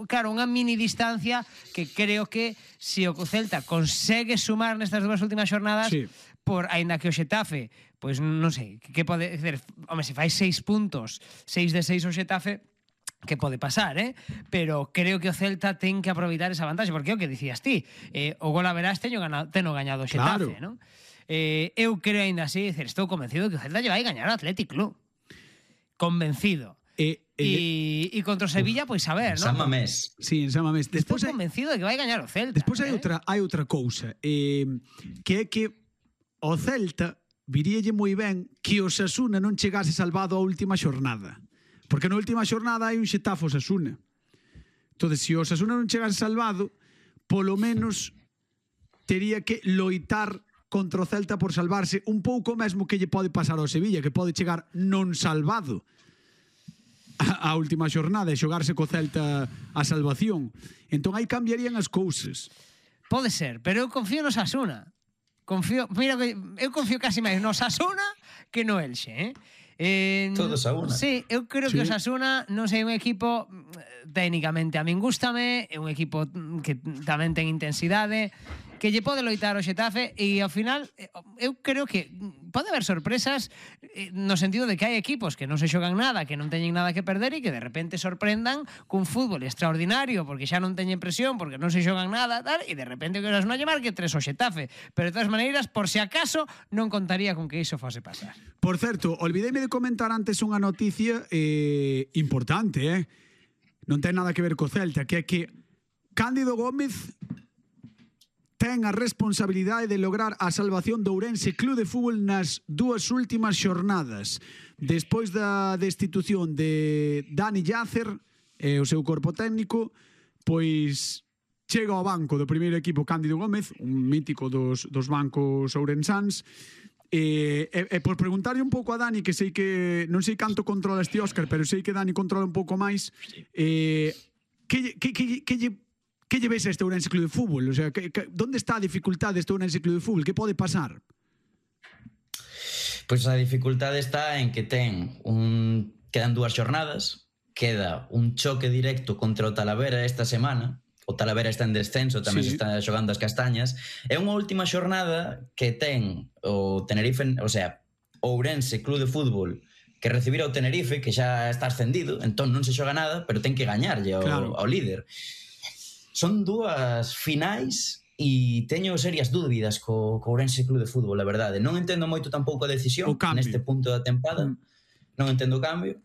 claro, unha mini distancia que creo que se o Celta consegue sumar nestas dúas últimas xornadas, Sí. por aínda que o Xetafe, pois non sei, que pode dizer, home, se fai 6 puntos, 6 de 6 o Xetafe, que pode pasar, pero creo que o Celta ten que aproveitar esa vantaxe, porque é o que dicías ti, o gol a verás teno gañado o Xetafe, Claro. non? Eu creo aínda así, dizer, estou convencido que o Celta lle vai gañar ao Athletic Club. Convencido. E contra o Sevilla, pois a ver, San non? Mamés. Sí, en San Mamés. Estou convencido de que vai gañar o Celta. Despois hai outra cousa, que é que o Celta viríalle moi ben que o Osasuna non chegase salvado á última xornada. Porque na última xornada hai un Xetafe Osasuna. Entón, se o Osasuna non chegase salvado, polo menos tería que loitar contra o Celta por salvarse un pouco mesmo que lle pode pasar ao Sevilla, que pode chegar non salvado a última xornada e xogarse co Celta a salvación. Entón aí cambiarían as cousas. Pode ser, pero eu confío no Osasuna. Eu confío casi máis no Osasuna que no Elxe, Todos a una. Sí, eu creo que o Osasuna non sei, un equipo técnicamente a min gústame, é un equipo que tamén ten intensidade, que lle pode loitar o Xetafe e ao final eu creo que pode haber sorpresas no sentido de que hai equipos que non se xogan nada, que non teñen nada que perder e que de repente sorprendan cun fútbol extraordinario porque xa non teñen presión, porque non se xogan nada tal, e de repente que non lle marque 3 o Xetafe, pero de todas maneiras, por se acaso non contaría con que iso fose pasar. Por certo, olvideime de comentar antes unha noticia importante, non ten nada que ver co Celta, que é que Cándido Gómez ten a responsabilidade de lograr a salvación do Ourense Club de Fútbol nas dúas últimas xornadas. Despois da destitución de Dani Llacer e o seu corpo técnico, pois chega ao banco do primeiro equipo Cándido Gómez, un mítico dos bancos ourensáns, e por preguntarlle un pouco a Dani, que sei que non sei canto controla este Óscar, pero sei que Dani controla un pouco máis, que lle ves a este Ourense Club de Fútbol? O sea, donde está a dificultade deste Ourense Club de Fútbol? Que pode pasar? Pois a dificultade está en que quedan 2 xornadas, queda un choque directo contra o Talavera esta semana. O Talavera está en descenso, tamén se está xogando as castañas. É unha última xornada que ten o Tenerife, o sea, o Ourense Club de Fútbol, que recibir ao Tenerife, que xa está ascendido, entón non se xoga nada, pero ten que gañarlle ao líder. Son 2 finais e teño serias dúbidas co Ourense Club de Fútbol, a verdade. Non entendo moito tampouco a decisión neste punto da tempada. Non entendo o cambio.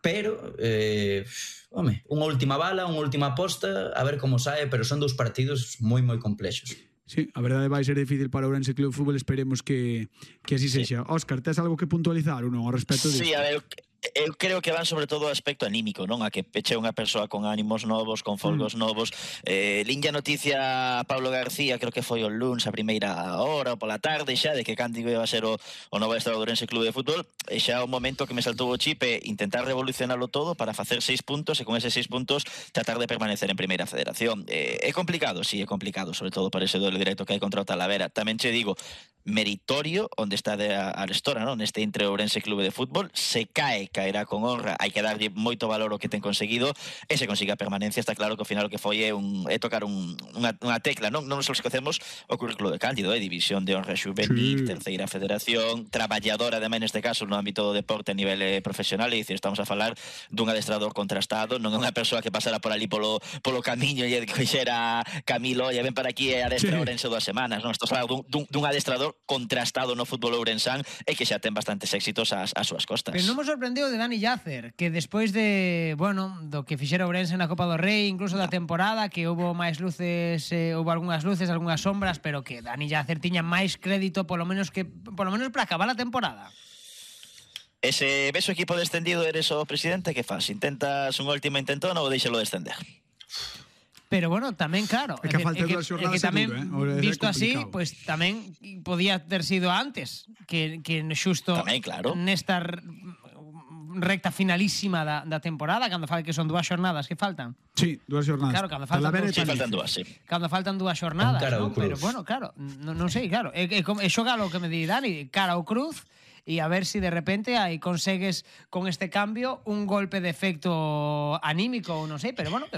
Pero, unha última bala, unha última aposta, a ver como sae, pero son 2 partidos moi, moi complexos. Sí, a verdade vai ser difícil para o Ourense Club de Fútbol, esperemos que así sexa. Óscar, tes algo que puntualizar ou non ao respecto disto? Sí, a ver, eu creo que van sobre todo ao aspecto anímico, non? A que peche unha persoa con ánimos novos, con folgos novos. Linha noticia a Pablo García, creo que foi o luns a primeira hora ou pola tarde xa, de que Cándido iba a ser o novo adestrador do Ourense Club de Fútbol, e xa o momento que me saltou o chip é intentar revolucionarlo todo para facer 6 puntos e con eses 6 puntos tratar de permanecer en Primeira Federación. É complicado, sí, é complicado, sobre todo para ese duelo directo que hai contra o Talavera. Tamén che digo, meritorio onde está a Arestora, non? Neste Intre Ourense Club de Fútbol, se caerá con honra, hai que darlle moito valor ao que ten conseguido, e se consiga a permanencia, está claro que ao final o que foi é tocar unha tecla, non nos esquecemos o currículo de Cándido, división de honra xuvenil, terceira federación, traballadora ademais neste caso no ámbito do deporte a nivel profesional, e dicir, estamos a falar dun adestrador contrastado, non é unha persoa que pasara por ali polo camiño e que xera Camilo, e ven para aquí e adestra Ourense 2 semanas, non? Estamos a falar dun adestrador contrastado no fútbol ourensán e que xa ten bastantes éxitos ás súas costas. Pero non me sorprendeu de Dani Llacer, que despois do que fixera Ourense na Copa do Rei, incluso da temporada, que houbo máis luces, houbo algunhas luces, algunhas sombras, pero que Dani Llacer tiña máis crédito polo menos para acabar a temporada. E se ves o equipo descendido, eres o presidente, que faz? Intentas un último intentón ou deixalo descender? Pero bueno, tamén claro, é que falta 2 xornadas tamén visto así, pues tamén podía ter sido antes que xusto tamén, claro, nesta recta finalísima da temporada, cando fala que son 2 xornadas que faltan. Sí, 2 xornadas. Claro, cando faltan 2, sí. Cando faltan 2 xornadas, ¿no? Pero bueno, claro, non sei, claro, é xogalo que me di Dani, cara ao cruz. e a ver si de repente aí consegues con este cambio un golpe de efecto anímico ou non sei, pero bueno, eu